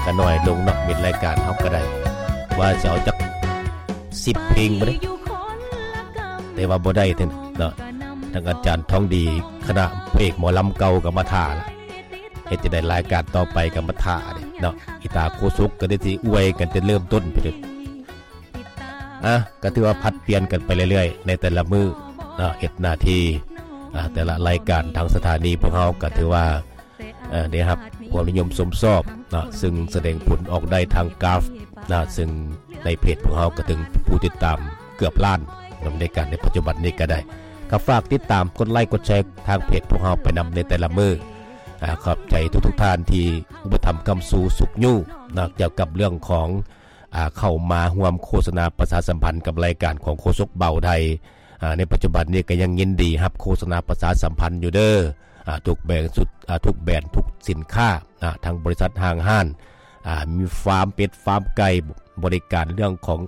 ກະໜ້ອຍລົງເນາະ ມິດລາຍການເຮົາກະໄດ້ ວ່າຊິເອົາຈັກສິບເພງບໍ່ໄດ້ ແຕ່ວ່າບໍ່ໄດ້ເນາະ ທາງອາຈານທອງດີ ຄະນະພະເອກໝໍລຳເກົ່າກະມາຖ້າລະ ເຮັດຈັ່ງໃດລາຍການຕໍ່ໄປກະມາຖ້າເດ້ເນາະ ອີຕາໂຄສົກກະໄດ້ຊິອວຍກັນແຕ່ເລີ່ມຕົ້ນພຸ້ນເດ້. ອ່ະ ກະຖືວ່າຜັດປ່ຽນກັນໄປເລື້ອຍໆ ໃນແຕ່ລະມື້ເນາະ ເຮັດໜ້າທີ່ ອ່າ ແຕ່ລະລາຍການທາງສະຖານີພວກເຮົາກະຖືວ່າ ເອີ ໄດ້ຮັບຄວາມນິຍົມຊົມຊອບເນາະ ຊຶ່ງສະແດງຜົນອອກໄດ້ທາງກຣາຟເນາະ ຊຶ່ງໃນເພຈພວກເຮົາກະເຖິງຜູ້ຕິດຕາມເກືອບລ້ານ ໃນການໃນປັດຈຸບັນນີ້ກະໄດ້ ກະຝາກຕິດຕາມກົດໄລກົດແຊທາງເພຈພວກເຮົາໄປນຳໃນແຕ່ລະມື້. ອ່າ ຂອບໃຈທຸກໆທ່ານທີ່ອຸປະຖຳຄ້ຳຊູຊຸກຍູ້ເນາະ ກ່ຽວກັບເລື່ອງຂອງ ອ່າ ເຂົ້າມາຮ່ວມໂຄສະນາປະຊາສຳພັນກັບລາຍການຂອງໂຄສົກບ່າວໄທ ອ່າ ໃນປັດຈຸບັນນີ້ກະຍັງຍິນດີຮັບໂຄສະນາປະຊາສຳພັນຢູ່ເດີ ອ່າ ທຸກແບຣນ ທຸກແບຣນ ທຸກສິນຄ້າ ອ່າ ທັງບໍລິສັດຫ້າງຮ້ານ ອ່າ ມີຟາມເປັດຟາມໄກ່ ບໍລິການເລື່ອງຂອງ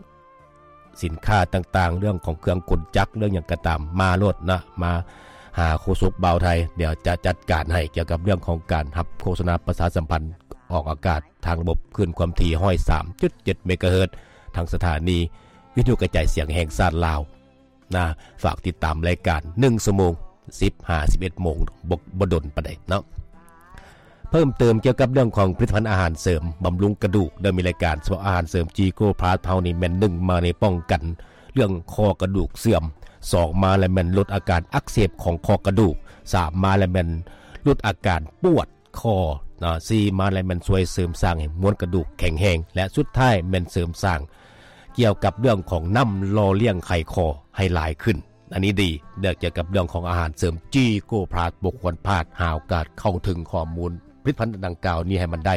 ສິນຄ້າຕ່າງໆ ເລື່ອງຂອງເຄື່ອງກົນຈັກ ເລື່ອງຫຍັງກະຕາມ ມາໂລດນະ ມາຫາໂຄສົກບ່າວໄທ ດຽວຈະຈັດການໃຫ້ ກ່ຽວກັບເລື່ອງຂອງການຮັບໂຄສະນາປະຊາສຳພັນ ອອກອາກາດທາງລະບົບຄື້ນຄວາມຖີ່ຮ້ອຍສາມຈຸດເຈັດເມກາເຮີດ ທາງສະຖານີວິທະຍຸກະຈາຍສຽງແຫ່ງຊາດລາວນະ. ຝາກຕິດຕາມລາຍການໜຶ່ງຊົ່ວໂມງ ສິບຫາສິບເອັດໂມງ ບໍ່ ບໍ່ດົນປານໃດເນາະ. ເພີ່ມເຕີມກ່ຽວກັບເລື່ອງຂອງຜະລິດຕະພັນອາຫານເສີມບຳລຸງກະດູກ ໄດ້ມີລາຍການສະເພາະອາຫານເສີມຈີໂກພລັສເຮົານີ້ແມ່ນ ໜຶ່ງ ມາໃນປ້ອງກັນເລື່ອງຂໍ້ກະດູກເສື່ອມ, ສອງ ມາແລ້ວແມ່ນລົດອາການອັກເສບຂອງຂໍ້ກະດູກ, ສາມ ມາແລ້ວແມ່ນຫຼຸດອາການປວດ ຂໍ້ເນາະ ສີ່ ມາແລ້ວແມ່ນຊ່ວຍເສີມສ້າງໃຫ້ມວນກະດູກແຂງແຮງ ແລະ ສຸດທ້າຍແມ່ນເສີມສ້າງກ່ຽວກັບເລື່ອງຂອງນ້ຳຫຼໍ່ລ້ຽງໄຂຂໍ້ໃຫ້ຫຼາຍຂຶ້ນ. ອັນນີ້ດີ ເລື່ອງກ່ຽວກັບເລື່ອງຂອງອາຫານເສີມຈີໂກພລັສ ບໍ່ຄວນພາດ ຫາໂອກາດເຂົ້າເຖິງຂໍ້ມູນຜະລິດຕະພັນດັ່ງກ່າວນີ້ໃຫ້ມັນໄດ້.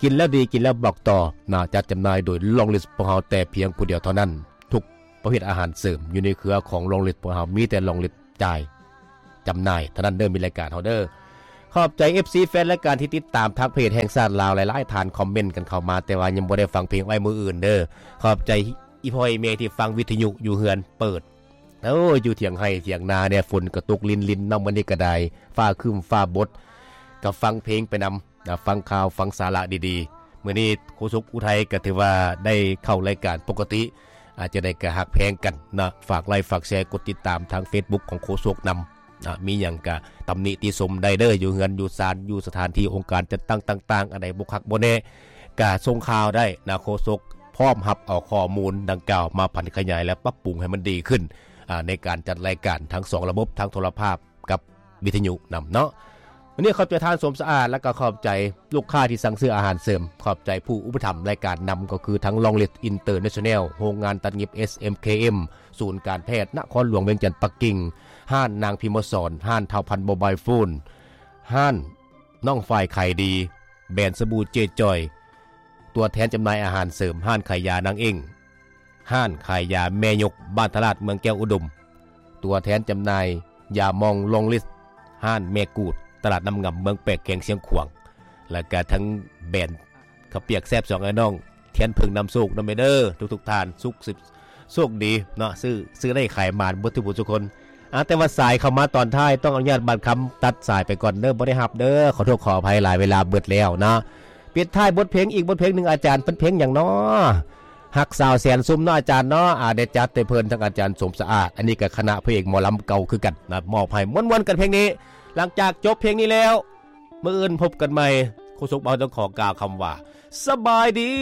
ກິນແລ້ວດີ ກິນແລ້ວບອກຕໍ່ນະ ຈັດຈຳໜ່າຍໂດຍລອງລິດພວກເຮົາແຕ່ພຽງຜູ້ດຽວເທົ່ານັ້ນ. ທຸກປະເພດອາຫານເສີມຢູ່ໃນເຄືອຂອງລອງລິດພວກເຮົາ ມີແຕ່ລອງລິດ ຈ່າຍຈຳໜ່າຍເທົ່ານັ້ນເດີ ມີລາຍການເຮົາເດີ. ຂອບໃຈເອັຟຊີແຟນລາຍການທີ່ຕິດຕາມທາງເພຈແຫ່ງຊາດລາວ ຫຼາຍໆທ່ານຄອມເມັນກັນເຂົ້າມາ ແຕ່ວ່າຍັງບໍ່ໄດ້ຟັງເພງໄວ້ມື້ອື່ນເດີ. ຂອບໃຈອີ່ພໍ່ອີ່ແມ່ທີ່ຟັງວິທະຍຸຢູ່ເຮືອນເປີດ ໂອ້ຍ ຢູ່ຖຽງໄຮ່ຖຽງນາແດ່ ຝົນກະຕົກລິນໆ ເນາະ ມື້ນີ້ກະໄດ້ ຟ້າຄຶ້ມຟ້າບົດ ກະຟັງເພງໄປນຳ ນະ ຟັງຂ່າວ ຟັງສາລະດີໆ. ມື້ນີ້ໂຄສົກອຸໄທກະຖືວ່າໄດ້ເຂົ້າລາຍການປົກກະຕິ ອາດຈະໄດ້ກະຮັກແພງກັນນະ ຝາກໄລ ຝາກແຊ ກົດຕິດຕາມທາງເຟສບຸກຂອງໂຄສົກນຳນະ. ມີຫຍັງກະຕຳໜິຕິຊົມໄດ້ເດີ ຢູ່ເຮືອນຢູ່ຊານ ຢູ່ສະຖານທີ່ອົງການຈັດຕັ້ງຕ່າງໆ ອັນໃດບໍ່ຄັກບໍ່ແນ່ກະສົ່ງຂ່າວໄດ້ນະ ໂຄສົກພ້ອມຮັບເອົາຂໍ້ມູນດັ່ງກ່າວມາຜັນຂະຫຍາຍ ແລະ ປັບປຸງໃຫ້ມັນດີຂຶ້ນ ອາ ໃນການຈັດລາຍການທັງສອງລະບົບ ທັງໂທລະພາບ ກັບວິທະຍຸນຳເນາະ. ວັນນີ້ຂອບໃຈທ່ານສົມສະອາດ ແລະ ກໍຂອບໃຈລູກຄ້າທີ່ສັ່ງຊື້ອາຫານເສີມ, ຂອບໃຈຜູ້ອຸປະຖຳລາຍການນຳ ກໍຄືທັງລອງລິດອິນເຕີເນຊັນແນວ, ໂຮງງານຕັດຫຍິບ ເອສເອັມເຄເອັມ, ສູນການແພດນະຄອນຫຼວງວຽງຈັນປັກກິ່ງ, ຮ້ານນາງພິມມະສອນ, ຮ້ານທ້າວພັນໂມບາຍໂຟນ, ຮ້ານນ້ອງຝ້າຍຂາຍດີ, ແບຣນສະບູເຈຈອຍ, ຕົວແທນຈຳໜ່າຍອາຫານເສີມ, ຮ້ານຂາຍຢານາງເອັ້ງ, ຮ້ານຂາຍຢາແມ່ຍົກ ບ້ານທະລາດ ເມືອງແກ້ວອຸດົມ, ຕົວແທນຈຳໜ່າຍຢາມອງລອງລິດ ຮ້ານແມ່ກູດ ຕະຫຼາດນ້ຳງຳ ເມືອງແປກ ແຂວງຊຽງຂວາງ ແລ້ວກະທັງແບຣນເຂົ້າປຽກແຊບສອງອ້າຍນ້ອງ ທຽນເຜິ້ງນຳໂຊກນຳແມ່ເດີ ທຸກໆທ່ານ ສຸກສິບ ໂຊກດີເນາະ ຊື້ ຊື້ໄດ້ຂາຍໝານເບິດທຸກຜູ້ທຸກຄົນ. ອາ ແຕ່ວ່າສາຍເຂົ້າມາຕອນທ້າຍ ຕ້ອງອະນຸຍາດບາດຄຳຕັດສາຍໄປກ່ອນເດີ ບໍ່ໄດ້ຮັບເດີ ຂໍໂທດຂໍອະໄພຫຼາຍ ເວລາເບິດແລ້ວເນາະ. ປິດທ້າຍບົດເພງອີກບົດເພງໜຶ່ງ ອາຈານ ເປັນເພງຫຍັງເນາະ? ຮັກສາວແສນຊຸມເນາະອາຈານເນາະ. ອາ ໄດ້ຈັດໃຫ້ເພິ່ນ ທັງອາຈານສົມສະອາດ ອັນນີ້ກະຄະນະພະເອກໝໍລຳເກົ່າຄືກັນນະ ມອບໃຫ້ມ່ວນໆກັນເພງນີ້. ຫຼັງຈາກຈົບເພງນີ້ແລ້ວ ມື້ອື່ນພົບກັນໃໝ່ ໂຄສົກເຮົາຕ້ອງຂໍກ່າວຄຳວ່າ ສະບາຍດີ.